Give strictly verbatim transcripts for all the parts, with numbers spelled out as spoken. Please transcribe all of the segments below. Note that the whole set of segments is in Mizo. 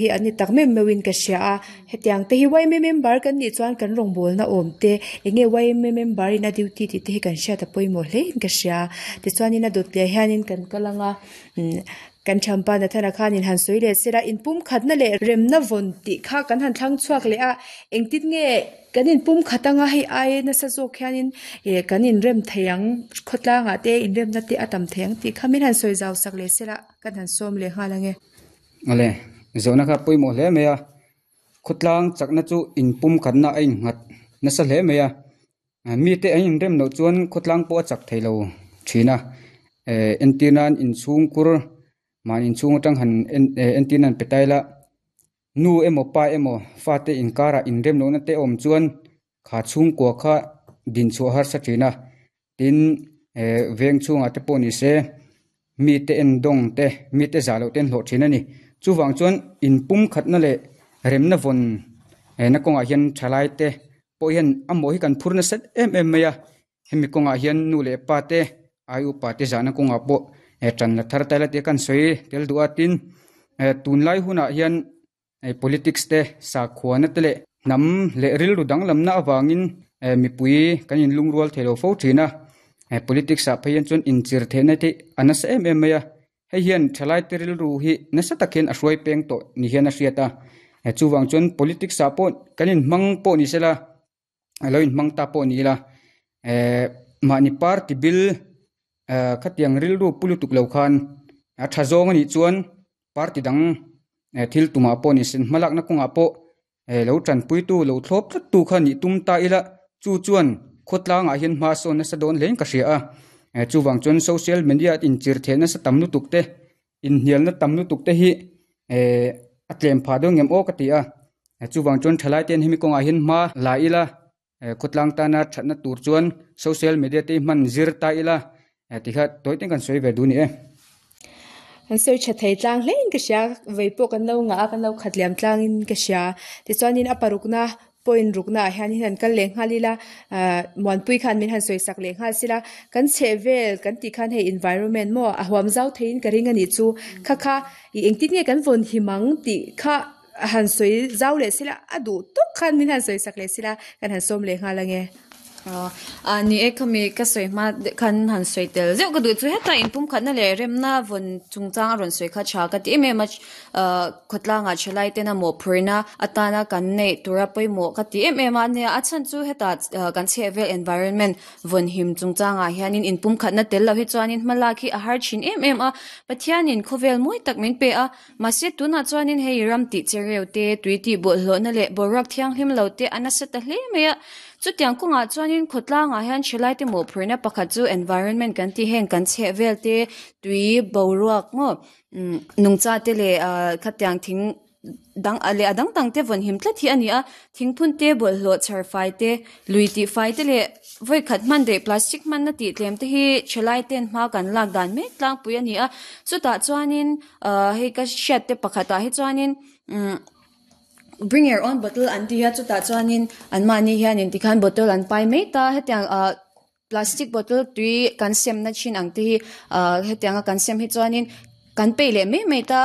Hi an ni tak meuh meuhin ka hria a, hetiang te hi Y M A member kan nih chuan kan rawngbawlna awm te eng nge Y M A member in a duty tih te hi kan hriat a pawimawh hle in ka hria. Tichuanin a dawt leh hianin kan kal anga umm kan thampa Nathana khanin han sawi leh sela inpumkhatna leh remna vawn tih kha kan han thlang chhuak leh a, engtin nge kan inpumkhat anga hei ai nasa zawk hianin ih kan inrem thei ang khawtlangah te inremna te a tam thei ang tih kha min han sawi zau sak leh sela kan han sawm leh nghal ange. Ale zawhna kha pawimawh hle mai a, khawtlang chakna chu inpumkhatna a innghat nasa hle mai a, mite an inrem loh chuan khawtlang pawh a chak thei lo thin a, eh entir nan inchhungkur mahni inchhung atang han en entir nan pe ta ila nu emaw pa emaw fate inkarah inrem lohna te a awm chuan kha chhungkua kha din chhuah harsa thin a, tin eh veng chhungah te pawh ni se mite endawng te mite zah loh te an hlawh thin a ni. Chuvang chuan inpumkhatna leh remna vawn na kawngah hian thalai te pawh hian a mawh hi kan phur nasa em em mai a, hemi kawngah hian nu leh pa te ai upa te zahna kawngah pawh tan la thar ta ila tia kan sawi tel duh a, tin tunlai hunah hian politics te sakhuana te leh hnam leh rilru danglamna avangin mipui kan inlungrual thei lo fo thin a, politics ah phei hian chuan inchir theihna te a nasa em em mai a, hei hian thalai te rilru hi nasa tak hian a hruai peng tawh ni hian a hriat a, chuvang chuan politics ah pawh kan inhmang pawh ni sela alo inhmang ta pawh ni ila eh mahni party bil khatiang rilru pu lutuk lo khan a tha zawng anih chuan party dang thil tumah pawh ni sen hmalakna kawngah pawh lo tanpuitu lo thlawp tlat tu kha nih tum ta ila chu chuan khawtlangah hian hma sawn nasa dawn hlein ka hria a, chuvang chuan social media inchir theih nasa tam lutuk te inhnialna tam lutuk te hi eh a tlem phah dawn ngem aw ka ti a, chuvang chuan thalai ten hemi kawngah hian hma la ila khawtlang tana thatna tur chuan social media te hman zir ta ila tikha tawi ten kan sawi ve duh ni e. An sawi tha thei tlang hlein ka hria vei pawh kan lo ngah a kan lo khat liam tlangin ka hria. Tichuanin a parukna point rukna ah hian an kal leh nghal ila ah Muanpui khan min han sawi sak leh nghal sila kan chheh vel kan tih khan hei environment maw a huam zau theiin ka ring anih chu kha kha ih engtin nge kan vawn him ang tih kha han sawi zau leh sila a duh tawk khan min han sawi sak leh sila kan han sawm leh nghal ange. A ni e khami ka sawi hma khan han sawi tel zeuh ka duh chu heta inpumkhatna leh remna vawn chungchang a rawn sawi kha tha ka ti em em a, ah khawtlangah thalai tena mawhphurhna atana kan neih tura pawimawh ka ti em em a nia a chhan chu heta kan chheh vel environment vawn him chungchangah hianin inpumkhatna tel lo hi chuanin hma lak hi a har thin em em a, Pathianin khawvel mawi tak min pe a, mahse tunah chuanin hei ram tih chereu te tui tih bawlhhlawhna leh boruak thianghlim lo te a nasa ta hle mai a, chutiang kawngah chuanin khawtlangah hian thalai te mawhphurhna pakhat chu environment kan tih heng kan chheh vel te tui boruak maw umm nungcha te leh ah khatiang thing dang leh a dang dang te vawn him tlat hi a ni a, thingphun te bawlhhlawh chhar fai te lui tih fai te leh vawi khat hman daih plastic hmanna tih tlem te hi thalai ten hma kan lak dan mek tlangpui a ni a, chutah chuanin ah hei ka hriat te pakhatah hi chuanin umm bring your own bottle an ti a chutah chuanin anmahni hianin tikhan bottle an pai mai ta hetiang ah plastic bottle tui kan semna thin ang te hi ah hetianga kan sem hi chuanin kan peih leh mai mai ta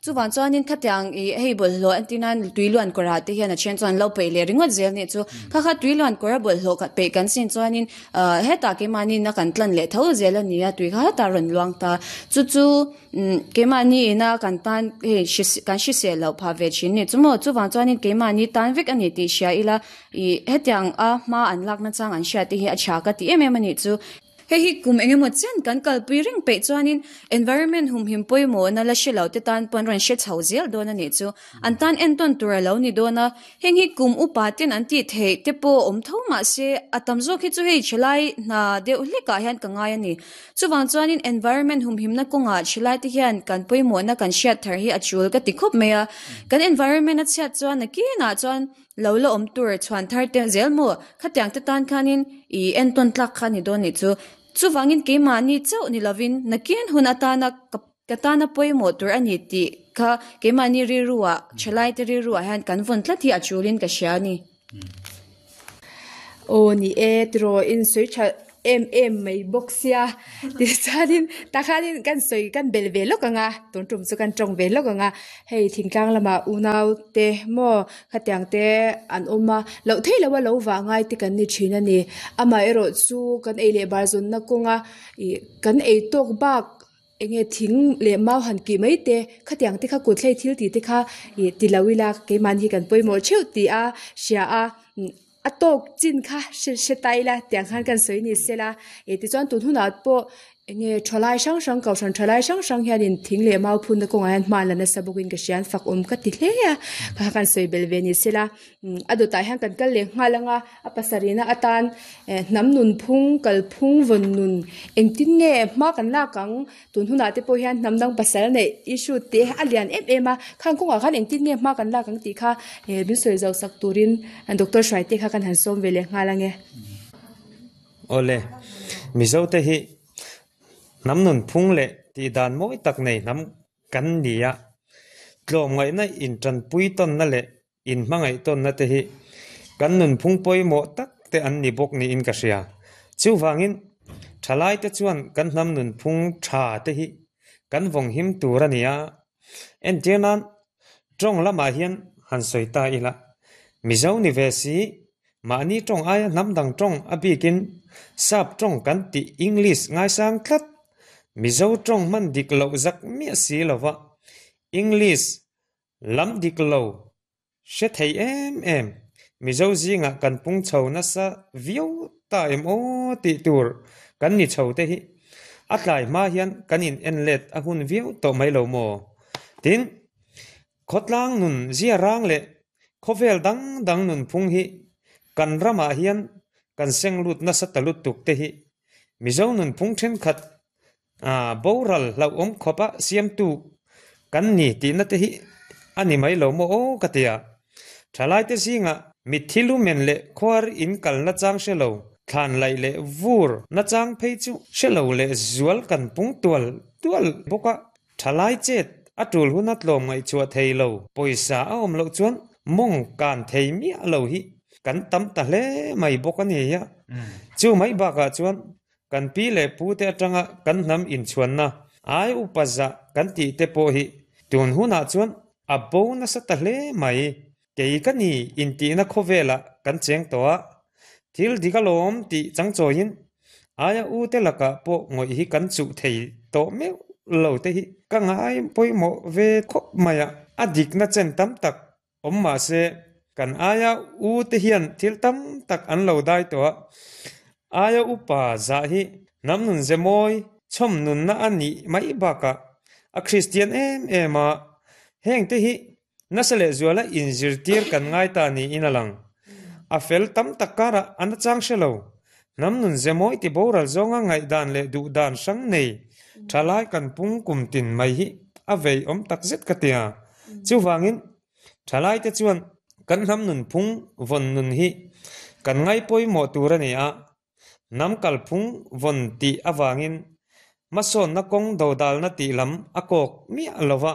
chuvang chuanin khatiang ih hei bawlhhlawh an tina tui luan kawrah te hian a then chuan lo peih leh ringawt zel nih chu kha kha tui luan kawr a bawlhhlawh khat peih kan sin chuanin ah hetah keimahni na kan tlan leh tho zel a ni a tui kha hetah rawn luang ta chu chu umm keimahni ina kan tan hei kan hrisel loh phah ve thin ni chu maw chuvang chuanin keimahni tan vek a ni tih hria ila ih hetiang a hma an lakna chang an hriat te hi a tha ka ti em em a nih chu. Hei hi kum engemaw chen kan kalpui reng peih chuanin environment humhim pawimawhna la hre lo te tan pawn rawn hre chho zel dawn a nih chu. An tan entawn tur a lo ni dawn a, heng hi kum upa ten an tih theih te pawh awm tho mahse a tam zawk hi chu hei thalai hna deuh hlekah hian ka ngai a ni. Chuvang chuanin environment humhimna kawngah thalai te hian kan pawimawhna kan hriat thar hi a tul ka ti khawp mai a. Kan environment a chhiat chuan nakinah chuan lo la awm tur chhuan thar te zel maw khatiang te tan khanin ih entawn tlak kha ni dawn nih chu. Chuvangin keimahni chauh ni lovin nakin hun atana ka ka tana pawimawh tur a ni tih kha keimahni rilruah thalai te rilruah hian kan vawn tlat hi a tulin ka hria a ni. Aw ni e tiraw in sawi tha em em mai bawk sia tichuanin takhanin kan sawi kan belh ve lawk ang a tun tum chu kan tawng ve lawk ang a hei thingtlang lamah unau te maw khatiang te an awm a loh theih loh a lo vah ngai te kan ni thin a ni amaherawh chu kan ei leh bar zawnna kawnga ih kan ei tawk bak enge thing leh mau han kih mai te khatiang te kha kut hlei thil tih te kha ih ti lo ila keimahni hi kan pawimawh theuh tih a hria a a tawk chin kha hre hre ta ila tiang khan kan sawi ni sela ih tichuan tun hunah pawh enge thalai hrang hrang kohhran thalai hrang hrang hianin thing leh mau phunna kawngah hian hma an la nasa bawkin ka hria an fak awm ka ti hle a kha kan sawi belh ve ni sela a dawtah hian kan kal leh nghal anga a pasarihna atan eh hnam nun phung kal phung vawn nun engtin nge hma kan lak ang tun hunah te pawh hian hnam dang pasal neih issue te a lian em em a khang kawngah khan engtin nge hma kan lak ang tih kha eh min sawi zo sak turin doctor hruai te kha kan han sawm ve leh nghal ange. Awle, Mizo te hi hnam nun phung leh tih dan mawi tak nei hnam kan ni a, tlawm ngaihna intanpui tawnna leh inhmangaih tawnna te hi kan nun phung pawimawh tak te an ni bawk niin ka hria. Chuvangin thalai te chuan kan hnam nun phung tha te hi kan vawng him tur a ni a, entir nan tawng lamah hian han sawi ta ila Mizo ni ve si mahni tawng aia hnam dang tawng a bikin sap tawng kan tih English ngaisang tlat Mizo tawng hman dik loh zak miah si lova English lam dik lo hre thei em em Mizo zingah kan pung chho nasa viau ta em aw tih tur kan ni chho te hi a tlai hma hian kan in en let a hun viau tawh mai lo maw. Tin, khawtlang nun zia rang leh khawvel dang dang nun phung hi kan ramah hian kan seng lut nasa ta lutuk te hi Mizo nun phung thenkhat ah boral hlauhawm khawpa siamtu kan ni tihna te hi a ni mai lo maw aw ka ti a. Thalai te zingah mitthi lumen leh khuar in kalna chang hre lo, thlan laih leh vur na chang phei chu hre lo leh zual kan pung tual tual bawk a. Thalai chet a tul huna tlawm ngaihchhuah thei lo, pawisa a awm loh chuan mawng kan thei miah lo hi kan tam ta hle mai bawk a ni a. Chu mai bakah chuan kan pi leh pu te atanga kan hnam inchhuanna ai upa zah kan tih te pawh hi tun hunah chuan a bo nasa ta hle mai. Kei ka ni intihna khawvelah kan cheng tawh a, thil dik alawm tih changchawiin aia u te lakah pawh ngawih hi kan chuh thei tawh meuh lo te hi ka ngai pawimawh ve khawp mai a. A dikna chen tam tak awm mahse kan aia u te hian thil tam tak an lo dai tawh a, aia upa zah hi hnam nun ze mawi chhawm nunna a nih mai bakah a Kristian em em a, heng te hi nasa leh zuala inzirtir kan ngai ta niin a lang. A fel tam tak karah an a chang hre lo. Hnam nun ze mawi ti boral zawnga ngaihdan leh duhdan hrang nei thalai kan pung kum tin mai hi a vei awm tak zet ka ti a. Chuvangin thalai te chuan kan hnam nun phung vawn nun hi kan ngai pawimawh tur a ni a, hnam kalphung vawn tih avangin hmasawnna kawng dodalna tih lam a kawk miah lova,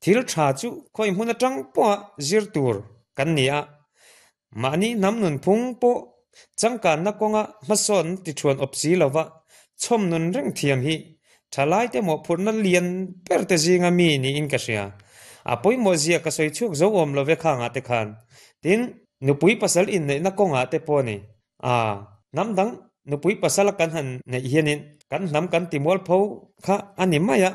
thil tha chu khawi hmun atang pawha zir tur kan ni a, mahni hnam nun phung pawh changkanna kawnga hmasawn ti thuan awp si lova chhawm nun reng thiam hi thalai te mawhphurhna lian ber te zinga mi niin ka hria. A pawimawh zia ka sawi chhuak zo awm love khangah te khan. Tin, nupui pasal inneihna kawngah te pawh a ni. A, hnam dang nupui pasala kan han neih hianin kan hnam kan ti mualpho kha a ni mai a,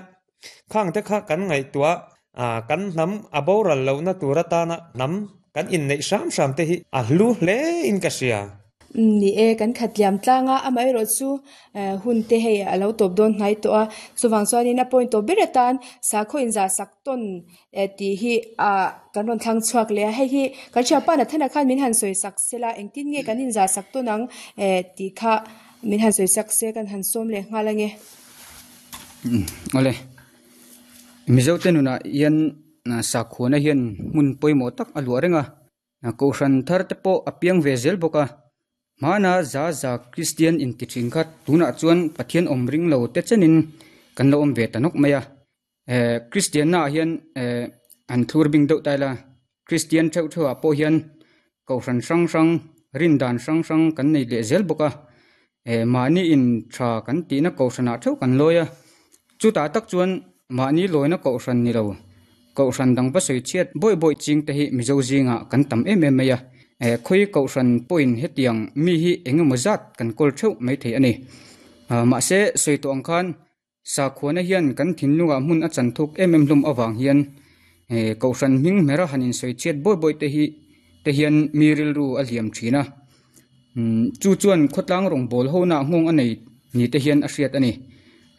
khang te kha kan ngaihtuah a, kan hnam a boral lohna tur atana hnam kan inneih hram hram te hi a hlu hle in ka hria. Ni e, kan khat liam tlang a, amaherawh chu hun te hei a lo tawp dawn hnai tawh a, chuvang chuanin a point tawp ber atan sakhaw inzah sak tawn tih hi ah kan rawn thlang chhuak leh a, hei hi kan thianpa Nathana khan min han sawi sak sela engtin nge kan inzah sak tawn ang tih kha min han sawi sak se kan han sawm leh nghal ange. Awle, Mizo te nunah hian sakhuana hian hmun pawimawh tak a luah reng a, kohhran thar te pawh a piang ve zel bawk a, hmana za za Kristian inti thin kha tunah chuan Pathian awm ring lo te chenin kan lo awm ve ta nawk mai a. Eh Kristianna ah hian eh an thlur bing deuh ta ila, Kristian theuh theuh ah pawh hian kohhran hrang hrang rin dan hrang hrang kan nei leh zel bawk a. Mahni in tha kan tihna kohhranah theuh kan lawi a, chutah tak chuan mahni lawina kohhran ni lo, kohhran dang va sawi chhiat bawih bawih ching te hi Mizo zingah kan tam em em mai a, khawi kohhran pawhin hetiang mi hi eng emaw zat kan kawl theuh mai thei a ni. Mahse sawi tawh ang khan sakhuana hian kan thinlungah hmun a chan thuk em em hlawm avang hian kohhran hming hmera han insawi chhiat bawih bawih te hi te hian mi rilru a hliam thin a. Chu chuan khawtlang rawngbâwl hona nghawng a nei ni te hian a hriat a ni.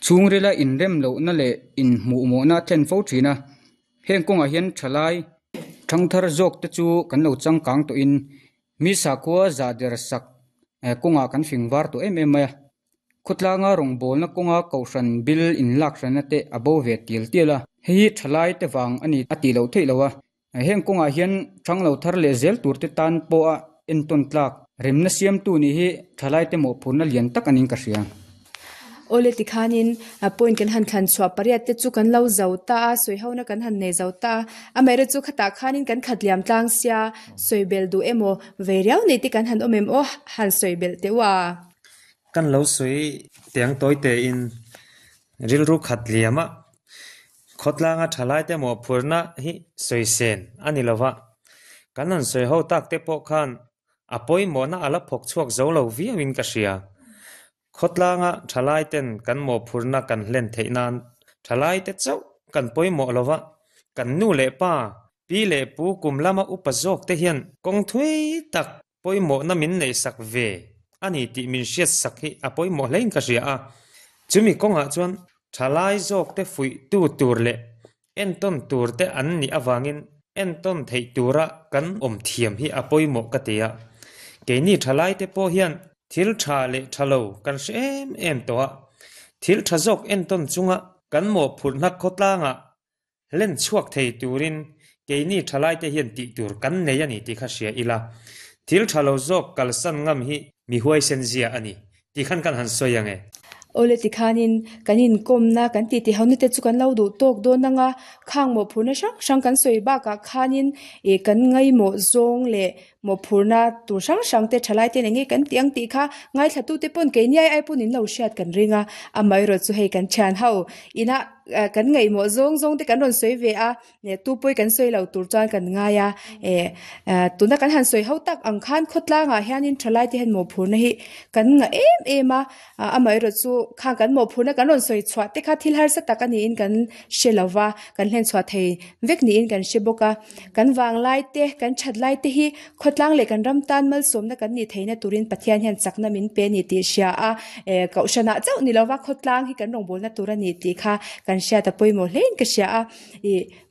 Chhungrila inrem lohna leh inhmuhmawhna a thlen fo thin a. Heng kawngah hian thalai thangthar zawk te chu kan lo changkang tawhin mi sakhua zah der sak kawngah kan fing var tawh em em mai a. Khawtlanga rawngbâwlna kawnga kohhran bil inlak hranna te a bo ve tial tial a. Hei hi thalai te vang a ni a tih loh theih lo a. Heng kawngah hian thang lo thar leh zel tur te tan pawha entawn tlak remna siamtu nih hi thalai te mawhphurhna lian tak anin ka hria. Awle tikhanin point kan han thlan chhuah pariat te chu kan lo zo ta a, sawi hona kan han nei zo ta a. Amaherawhchu chu khatah khanin kan khat liam tlang sia, sawi belh duh emaw vei riau nei te kan han awm em aw, han sawi belh teh u a. Kan lo sawi tiang tawi tein rilru khat liam a, khawtlanga thalai te mawhphurhna hi sawi sen a ni lova. Kan han sawi ho tak te pawh khan a pawimawhna a la phawk chhuak zo lo viauin ka hria. Khawtlanga thalai ten kan mawhphurhna kan hlen theih nan thalai te chauh kan pawimawh lova, kan nu leh pa, pi leh pu kum lama upa zawk te hian kawng thui tak pawimawhna min nei sak ve a ni tih min hriat sak hi a pawimawh hlein ka hria a. Chumi kawngah chuan thalai zawk te fuih tu tur leh entawn tur te an nih avangin entawn theih tura kan awm thiam hi a pawimawh ka ti a. Keini thalai te pawh hian thil tha leh tha lo kan hre em em tawh a, thil tha zawk entawn chunga kan mawhphurhna khawtlangah hlen chhuak thei turin keini thalai te hian tih tur kan nei a ni tih kha hria ila. Thil tha lo zawk kalsan ngam hi mi huaisen zia a ni tih khan kan han sawi ang e. Awle tikhanin kan inkawmna kan tih tih hona te chu kan lo duh tawk dawn anga, khang mawhphurhna hrang hrang kan sawi bakah khanin ih kan ngaimawh zawng leh mawhphurhna tur hrang hrang te thalai te eng nge kan tih ang tih kha ngaithla tu te pawn keini ai ai pawn in lo hriat kan ring a. Amaherawhchu chu hei kan thian ho ina kan ngaihmawh zawng zawng te kan rawn sawi ve a, tu pawi kan sawi lo tur chuan kan ngai a. Tuna kan han sawi ho tak ang khan khawtlangah hianin thalai te hian mawhphurhna hi kan ngah em em a. Amaherawhchu chu khang kan mawhphurhna kan rawn sawi chhuah te kha thil harsa tak a niin kan hre lova, kan hlen chhuah thei vek niin kan hre bawk a. Kan vanglai te, kan that lai te hi khawtlang leh kan ram tan malsawmna kan nih theihna turin Pathian hian chakna min pe ni tih hria a. Kohhranah chauh ni lova khawtlang hi kan rawngbawlna tur a ni tih kha kan hriat a pawimawh hlein ka hria a.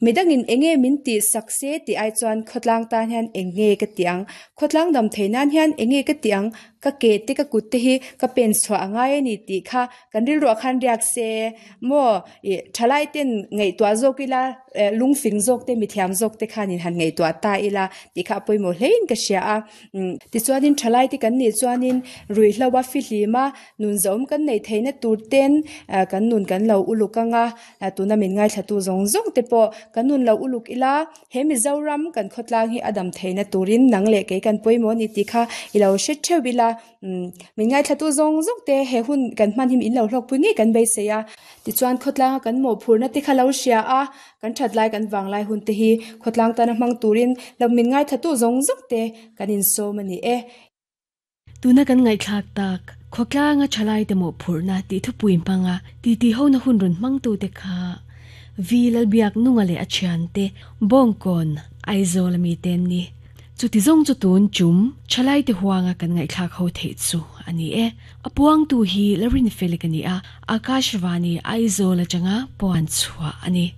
Midangin eng nge min tih sak se tih ai chuan khawtlang tan hian eng nge ka tih ang, khawtlang dam theih nan hian eng nge ka tih ang, ka ke te ka kut te hi ka pen chhuah a ngai a ni tih kha kan rilruah khan riak se maw. Thalai ten ngaihtuah zawk ila, lungfing zawk te mithiam zawk te khanin han ngaihtuah ta ila tih kha a pawimawh hlein ka hria a. Tichuanin thalai te kan nih chuanin ruihhlo a fihlima nun zawm kan nei theihna tur ten kan nun kan lo uluk anga, tuna min ngaithla tu zawng zawng te pawh kan nun lo uluk ila, he Mizoram kan khawtlang hi a dam theihna turin nang leh kei kan pawimawh ni tih kha i lo hre theuh ila. Min ngaithla tu zawng zawng te he hun kan hman hi min lo hlawkpui ngei kan beisei a. Tichuan khawtlanga kan mawhphurhna te kha lo hria a, kan that lai kan vanglai hun te hi khawtlang tana hmang turin lo min ngaithla tu zawng zawng te kan insawm a ni e. Tuna kan ngaihthlak tak khawtlanga thalai te mawhphurhna tih thupui hmanga ti ti hona hun rawn hmang tu te kha Vi Lalbiak nunga leh a thian te Bawngkawn Aizawl ami ten ni. Chuti zawng chu tun chum thalai te huanga kan ngaihthlak ho theih chu a ni e. A puang tu hi Larin Felix a ni a, Akashvani Aizawl atanga puan chhuah a ni.